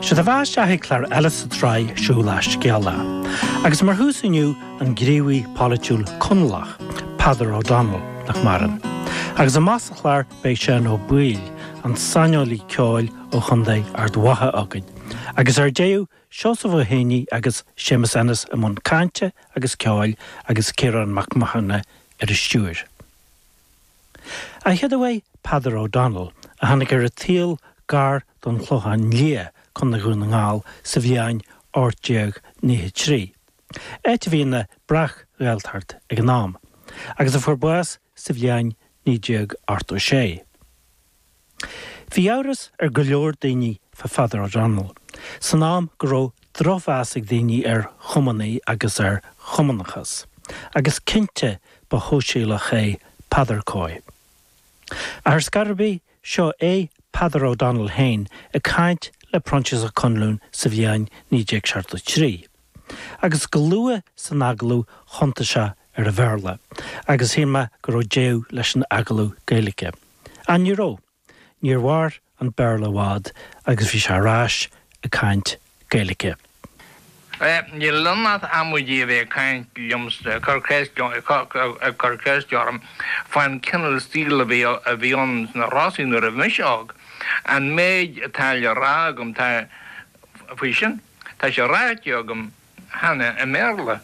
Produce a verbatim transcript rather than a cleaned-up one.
Sé do bheatha isteach ag clár eile sa tsraith Siúl le Scéala. Agus mar thús inniu an gníomhaí polaitiúil Conallach, Peadar O'Donnell nach maireann. Agus amach sa chlár beidh Seán Ó Baoill, an saineolaí ceoil ó Chontae Ard Mhacha againn. Agus ar deireadh Seosamh Ó Héanaí agus Séamus Ennis i mbun cainte agus ceoil agus Ciarán Mac Mathúna ar an stiúir. A chéad Peadar O'Donnell a tháinig ar an tsaol gar don Chlochán Liath Contae Dhún na nGall sa bhliain ocht déag nócha trí. Áit a bhí ina breac-Ghaeltacht ag an am, agus a fuair bás sa bhliain naoi déag ochtó sé. Bhí amhras ar go leor daoine fá Pheadar O'Donnell, san am go raibh drochmheas ag daoine ar chumannaigh agus ar chumannachas, agus cinnte ba shóisialach é Peadar Coy. Ar scor ar bith seo é Peadar O'Donnell féin ag caint le Proinsias Ó Conluain sa bhliain naoi déag seachtó trí. Agus go luath san agallamh thiontaigh sé ar an Bhéarla, agus shíl mé go raibh deireadh leis an agallamh Gaeilge. Ach ní raibh, níor mhair an Béarla i bhfad agus bhí sé ar ais ag caint Gaeilge. Níl ionat amuidí a bheith caint liomsa cur cur ceist orm fan cineál saoil a bhí a bhí ann sna Rosaí nuair a bhí mise óg. An méid atá le rá agam tá faoi sin, Tá sé ráite agam cheana i mBéarla.